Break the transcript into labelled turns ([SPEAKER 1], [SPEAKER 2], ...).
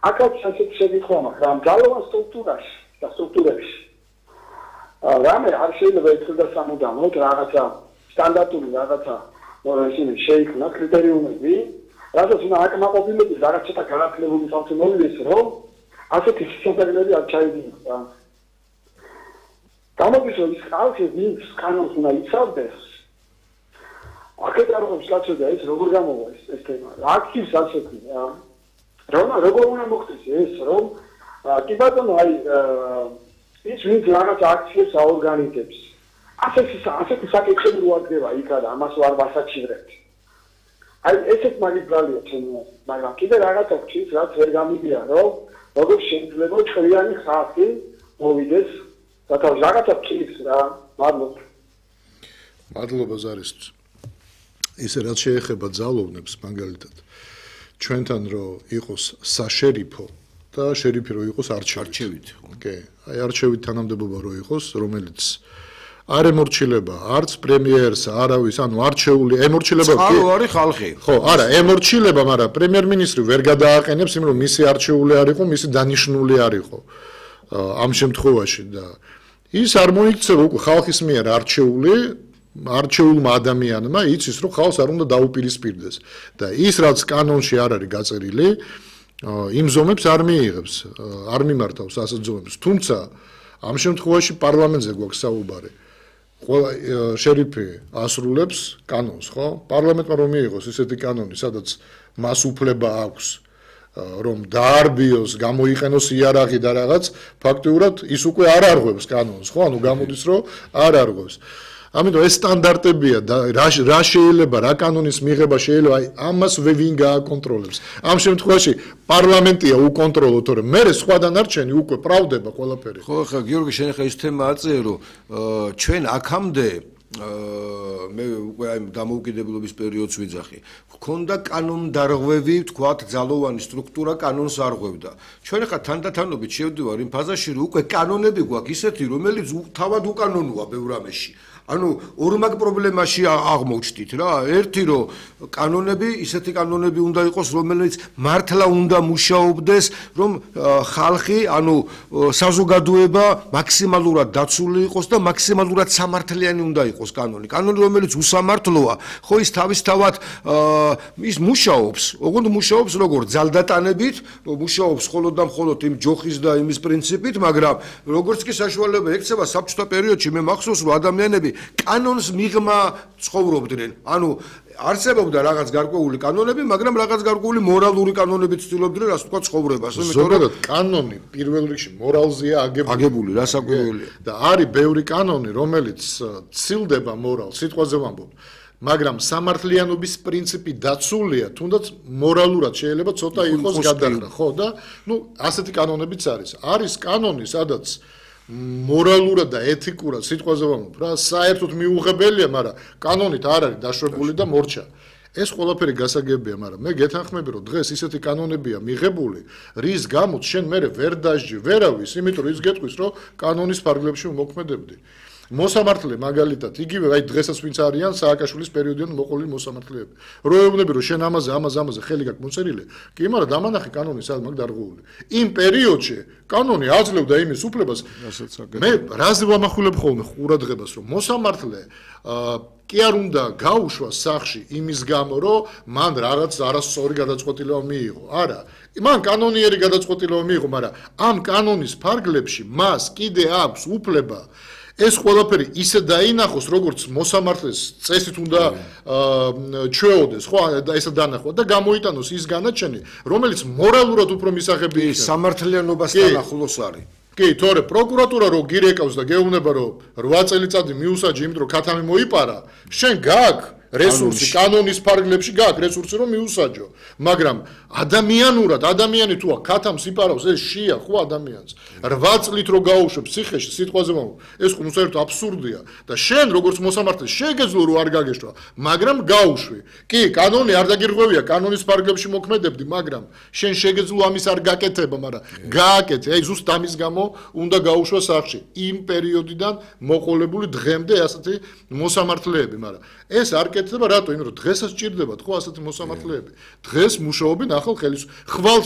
[SPEAKER 1] აქაც ასეთ შეკითხვა მაქვს, რა მგალოვან სტრუქტურებში. რამე არ შეიძლება ეთქვა სამუდამოდ რაღაცა სტანდარტული რაღაცა ისინი შეიქმნა კრიტერიუმები, რადგან უნდა აკმაყოფილების რაღაც ცოტა განათლებული ხალხი მოვიდეს, რომ ასეთი სისტემები არ ჩაიდინოს რა. გამოდის რომ ის ხალხი ვინც კანონს უნდა იცავდეს, აქეთ არ ხობს კაცო და ეს როგორ გამოვა ეს თემა. აქტივს ასეთი რომ როგორ უნდა მოხდეს ეს რომ კი ბატონო აი ის ვინც რაღაც აქციებს აორგანიზებს. ასეთი საკითხები რო აღდება იქა და ამას ვარ ვასაჩივრებთ. აი ესეთ მაგიბრალია ჩემი, მაგრამ კიდე რაღაცა გქის, რაც ვერ გამიგია, რომ როგორ შეიძლება ჩვენი ხალხი მოვიდეს და რაღაცა გქის რა, მადლობა.
[SPEAKER 2] მადლობა ზარისთვის. ისე რაც შეეხება ძალოვნებს მაგალითად ჩვენთან რომ იყოს საშერიფო და შერიფი რომ იყოს არჩევით. კი, აი არჩევით თანამდებობა რომ იყოს, რომელიც არ ემორჩილება არც პრემიერს, არავის, ანუ არჩეული ემორჩილება
[SPEAKER 3] კი არის ხალხი.
[SPEAKER 2] ხო, არა, ემორჩილება, მაგრამ პრემიერ-მინისტრი ვერ გადააყენებს იმ რომ მისი არჩეული არ იყო, მისი დანიშნული არ იყო. ამ შემთხვევაში და ის არ მოიქცევა უკვე ხალხის მიერ არჩეულმა ადამიანმა იცის რომ ხალხს არ უნდა დაუპირისპირდეს და ის რაც კანონში არ არის გაწერილი იმ ზომებს არ მიიღებს, არ მიმართავს ასეთ ზომებს. თუმცა ამ შემთხვევაში პარლამენტზე გვაქვს საუბარი. ყველა შერიფი ასრულებს კანონს, ხო? პარლამენტმა რომ მიიღოს ესეთი კანონი, სადაც მას უფლება აქვს რომ დაარბიოს, გამოიყენოს იარაღი და რაღაც, ფაქტიურად ის უკვე არ არღვევს კანონს, ხო? ანუ გამოდის რომ არ არღვევს. ამიტომ ეს სტანდარტებია და რა შეიძლება რა კანონის მიღება შეიძლება აი ამას ვინ გააკონტროლებს. ამ შემთხვევაში პარლამენტია უკონტროლო, თორემ მე სხვა დანარჩენი უკვე პრავდება ყველაფერი.
[SPEAKER 3] ხო, ხა გიორგი შენ ხა ის თემა აწერო, ჩვენ აქამდე მე უკვე აი დამოუკიდებლობის პერიოდს ვიძახი. გქონდა კანონდარღვევი, თქვათ, ძალოვანი სტრუქტურა კანონს არღვევდა. ჩვენ ხა თანდათანობით შევდივარ იმ ფაზაში, რომ უკვე კანონები გვაქვს ისეთი, რომელიც თავად უკანონოა ბევრ რამეში. ანუ ორმაგ პრობლემაში აღმოჩნდით რა. ერთი რომ კანონები, ისეთი კანონები უნდა იყოს, რომელიც მართლა უნდა მუშაობდეს, რომ ხალხი, ანუ საზოგადოება მაქსიმალურად დაცული იყოს და მაქსიმალურად სამართლიანი უნდა იყოს კანონი. კანონი რომელიც უსამართლოა, ხო ის თავისთავად ის მუშაობს, ოღონდ მუშაობს როგორ ძალდატანებით, მუშაობს მხოლოდ და მხოლოდ იმ ჯოხის და იმის პრინციპით, მაგრამ როგორც კი საშუალება ექცევა საბჭოთა პერიოდში მე მახსოვს რომ ადამიანები კანონს მიღმა ცხოვრობდნენ. ანუ არსებობდა რაღაც გარკვეული კანონები, მაგრამ რაღაც გარკვეული მორალური კანონები ცდილობდნენ რას თქვა ცხოვრებას.
[SPEAKER 2] ზოგადად კანონი პირველ რიგში მორალზეა
[SPEAKER 3] აგებული, რასაკვირველია.
[SPEAKER 2] და არის ბევრი კანონი, რომელიც ცილდება მორალს, სიტყვაზე ვამბობ. მაგრამ სამართლიანობის პრინციპი დაცულია, თუნდაც მორალურად შეიძლება ცოტა იყოს გადახრა, ხო და ასეთი კანონებიც არის. არის კანონი, სადაც მორალურად და ეთიკურად სიტყვაზე ვამბობ რა, საერთოდ მიუღებელია, მაგრამ კანონით არ არის დაშვებული და მორჩა. ეს ყველაფერი გასაგებია, მაგრამ მე გეთანხმები, რომ დღეს ისეთი კანონებია მიღებული, რის გამოც შენ მერე ვერ დასჯი, ვერავის, იმიტომ რომ ის გეტყვის, რომ კანონის ფარგლებში მოქმედებდი. მოსამართლე მაგალითად, იგივე აი დღესაც ვინც არიან სააკაშვილის პერიოდიდან მოყოლილი მოსამართლეები. რო ეუბნები, რომ შენ ამაზე ხელი გაქვს მოწერილი, კი, მაგრამ დამანახე კანონი სად მაგ დარღვეული. იმ პერიოდში კანონი აძლევდა იმის უფლებას. მე რაზე ვამახვილებ ხოლმე ყურადღებას, რომ მოსამართლე კი არ უნდა გაუშვა სახში იმის გამო, რომ მან რაღაც არასწორი გადაწყვეტილება მიიღო. არა, მან კანონიერი გადაწყვეტილება მიიღო, მაგრამ ამ კანონის ფარგლებში მას კიდე აქვს უფლება ეს ყველაფერი ისე დაინახოს, როგორც მოსამართლეს წესით უნდა ჩვეოდეს, ხო, ესა დანახვა და გამოიტანოს ის განაჩენი, რომელიც მორალურად უფრო მისაღები იქნება.
[SPEAKER 3] სამართლიანობასთან ახლოს არის.
[SPEAKER 2] კი, თორე პროკურატურა რო გირეკავს და გეუბნება, რომ 8 წელიწადი მიუსაჯი, იმიტომ რომ ქათამი მოიპარა, შენ გაქვს რესურსი, კანონის ფარგლებში გაქვს რესურსი, რომ მიუსაჯო. მაგრამ ადამიანურად, ადამიანი თუ ქათამს იპარავს, ეს შია ხო ადამიანს. 8 წლით რო გაუშვებ ციხეში, სიტყვაზე ვამბობ, ეს ხო საერთოდ აბსურდია და შენ როგორც მოსამართლე შეგეძლო რომ არ გაგეშვა, მაგრამ გაუშვი. კი, კანონი არ დაგირღვევია, კანონის ფარგლებში მოქმედებდი, მაგრამ შენ შეგეძლო ამის არ გაკეთება, მაგრამ გააკეთე. აი ზუსტ ამის გამო უნდა გაუშვა სახში. იმ პერიოდიდან მოყოლებული დღემდე ასეთი მოსამართლეები, მაგრამ ეს არ კეთდება რატო? იმიტომ რომ დღესაც ჭირდებათ ხო ასეთი მოსამართლეები. დღეს მუშაობენ ახალ ხელისუფლებას. ხვალ